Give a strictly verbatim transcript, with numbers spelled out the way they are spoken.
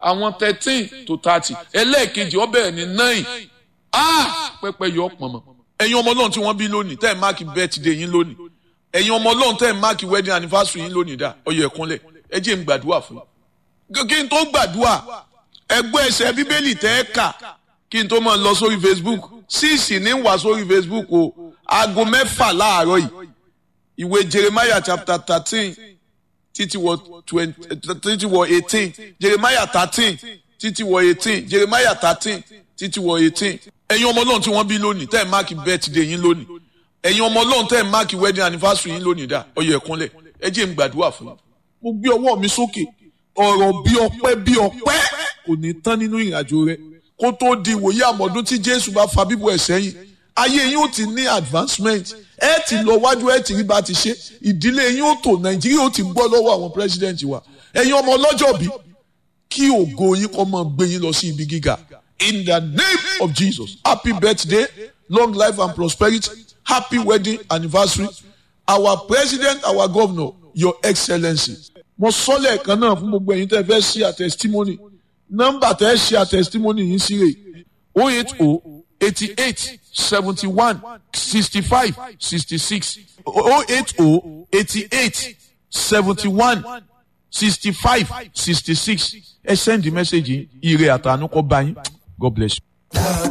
Àwọn thirteen to thirty. Ẹlẹ́ẹ̀kejì ó bẹ̀rẹ̀ ní nine. Ah! Pẹ́pẹ́ yọ pọ̀nmọ́. Ẹ̀yin ọmọ Ọlọ́run tí wọ́n bí lónìí, tẹ́ ẹ̀ máàkì birthday yín lónìí. Ẹ̀yin ọmọ Ọlọ́run tẹ́ ẹ̀ máàkì wedding anniversary yín lónìí dá. Ó yẹ kúnlẹ̀. Ẹ jẹ́ n gbàdúrà fún yín. Kí n tó gbàdúrà, ẹgbẹ́ ẹsẹ̀ Bíbélì tẹ́ ẹ kà kí n tó máa lọ sórí Facebook. Síìsì ní wà sórí Facebook o. Aago mẹ́fà láàárọ̀ yìí. Ìwé Jeremiah chapter thirteen títí wọ twenty títí wọ eighteen Jeremiah thirteen títí wọ eighteen Jeremiah thirteen títí wọ eighteen. Ẹ̀yin ọmọ Ọlọ́run tí wọ́n bí lónìí, tẹ́ ẹ̀ máàkì birthday yín lónìí. Ẹ̀yin ọmọ Ọlọ́run tẹ́ ẹ̀ máàkì wedding anniversary yín lónìí dá. Ó yẹ kúnlẹ̀. Ẹ jẹ́ n gbàdúrà fún yín. Mo gbé ọwọ́ mi sókè. Ọ̀rọ̀ bí ọpẹ́ bí ọpẹ́ kò ní tán nínú ìrìnàjò rẹ. Kó tó di ìwòye àmọ̀dún tí Jésù bá fa bíbọ̀ ẹ̀ sẹ́yìn, ayé yín ó ti ní advancement. Ẹ ti lọ wájú, ẹ ti rí bá ti ṣe. Ìdílé yín ó tò, Nàìjíríà ó ti gbọ́ lọ́wọ́ àwọn president wa. Ẹ̀yin ọmọ ọlọ́jọ́ bí, kí ògo yín kó máa gbé yín lọ sí ibi gíga. In the name of Jesus, happy birthday, long life and prosperity, happy wedding anniversary. Our president, our governor, your excellency. Mo sọ lẹ́ẹ̀kan náà fún gbogbo ẹ̀yin tẹ́ fẹ́ ṣe a testimony. Nọ́mbà tẹ́ ṣe a testimony yín sí rè oh eight oh eighty eight seventy one sixty five sixty six oh eight oh eighty eight seventy one sixty five sixty six. Ẹ send the message yìí, ire àtànú kó bá yín. God bless you.